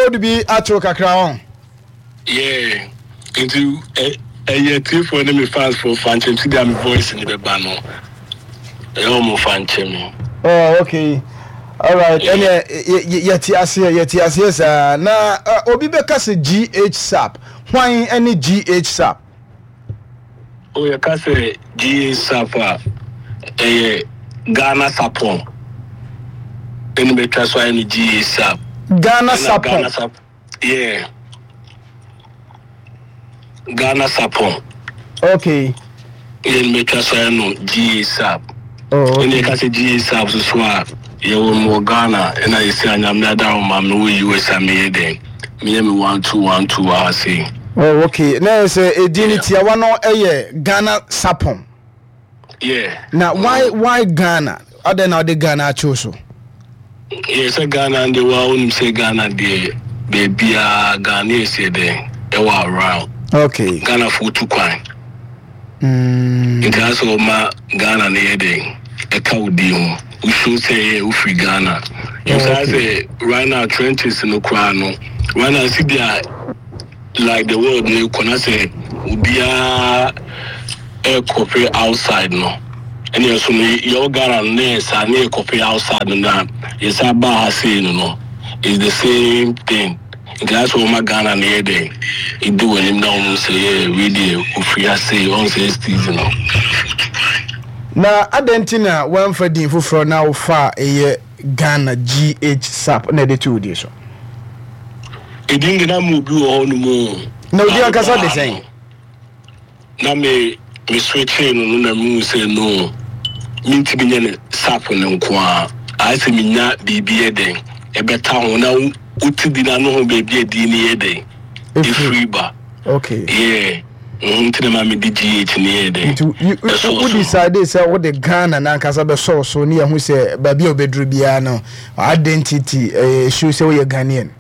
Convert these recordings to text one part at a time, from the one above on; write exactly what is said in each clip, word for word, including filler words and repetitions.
Code bi ato kakra wɔn. Yeah, nti ɛyɛ tiefoɔ ne me fans fo fa nkyɛn ti deɛ, me voice ne bɛba no, ɛyɛ ɔmo fa nkyɛn mi. Oh, okay, alright. Ɛnɛ yɛte aseɛ, yɛte aseɛ saa. Na uh, obi bɛka sɛ G H Sap, hwan ɛne G H Sap? O, yɛka sɛ G H Sap a, ɛyɛ Ghana Sapon ɛne bɛtwa so ayɛ no G H Sap. Ghana Sapon. Ghana Sap, yeah, Ghana Sapon. Okay yɛn bɛtwa so ayɛ no G H Sap. Oh, okay. Ɛne yɛka sɛ G H Sap so so a, yɛwɔ mu wɔ Ghana, ɛna yɛsi Anyame ada wo ma mewɔ U S a, meyɛ dɛn, meyɛ me one two one two wɔ ha sei. Oh, okay. Na yɛ sɛ edin ne tiawa no yɛ Ghana Sapon. Yeah. Na why why Ghana? Adɛn na ɔde Ghana akyew so? Yɛ sɛ Ghana deɛ, wa wonim sɛ Ghana deɛ, baabiaa Ghana yɛsɛ dɛn, ɛwɔ around. Okay Ghanafoɔ tu kwan. mm. Nti asɛ ɔma Ghana no yɛ dɛn, ɛka wo din ho, wosuo sɛ ɛyɛ wofiri Ghana. Nti sɛ right now trenches no koraa no, right now si bia like the world no kɔ na sɛ obiara ɛkɔpɛ outside no, ɛne ɛso no yɛwɔ Ghana no na yɛ saa ne yɛkɔpɛ outside no, na yɛsa baa ha sei no no is the same thing. Nti asɛ ɔma Ghana no yɛ dɛn, ɛdi wɔ anim na ɔmo sɛ yɛ wei deɛ ofiri ha sei, ɔn sɛ steez no. Na adɛn nti na woamfa din foforɔ na wofa a ɛyɛ Ghana G H Sap na ɛde to wo din so? Ɛdin de na ma obi wɔ hɔ no mu. Na odi ankasa de sɛn? Na me me switchee no no na mehu sɛ no, mentumi nyɛ ne Sap no nko a, ayɛ sɛ menya biribi yɛ dɛn ɛbɛta ho na wo- wote di na no ho baabi a din no yɛ dɛn ɛfiri ba. Okay yeah, mhm, nti na ma mede G H ne yɛ dɛn. Nti you- ɛsɔɔ wo so. Decide sɛ wode Ghana nankasa bɛsɔw so ne yɛho sɛ baabi a wobɛduru biara no, identity ɛyɛ show sɛ woyɛ Ghanaian.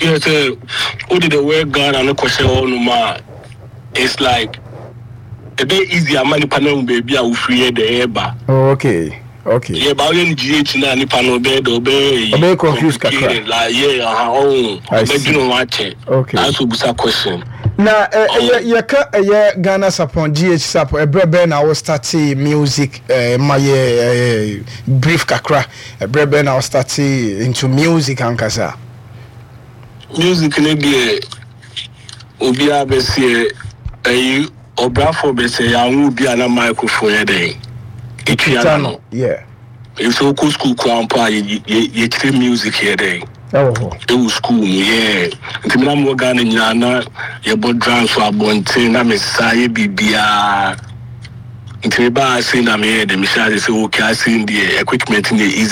Yeah, sɛ wode the word Ghana no kɔhyɛ hɔ nom a, it's like ɛbɛyɛ easy ama nipa no ahu baabi a wofiri yɛ dɛ ɛɛba. Oh, okay okay Yeah, ba woyɛ no G H na nipa no ɔbɛyɛ dɛ ɔbɛyɛ Ɔbɛyɛ confused kakra. Complicated, like, yeah, aha, ɔho. I see. Ɔbɛdwene ho akyɛ. Okay. Asɛ obusa question. Na ɛ, ɛyɛ yɛka ɛyɛ Ghana Sapon, G H Sap, ɛberɛ bɛn na wo starte music? eh, ma yɛ eh, brief kakra, ɛberɛ bɛn na wo starte into music ankasa? Music ne deɛ, obiara bɛseɛ ɛyi ɔbrafoɔ bɛsɛ yɛanwo obi a na microphone yɛ dɛn ɛtua na no. Yeah ɛsɛ wokɔ school koraa mpo a, yɛ- yɛ- yɛkyerɛ music yɛ dɛn ɛwɔ hɔ. Ɛwɔ school mu yɛ. Nti mena mewɔ Ghana nyinaa na yɛbɔ drums wɔ abɔnten na mesa yɛ biribiaa. Nti mebaa ase na meyɛ dɛ mehyɛ ase sɛ okay, ase deɛ equipment no yɛ easy.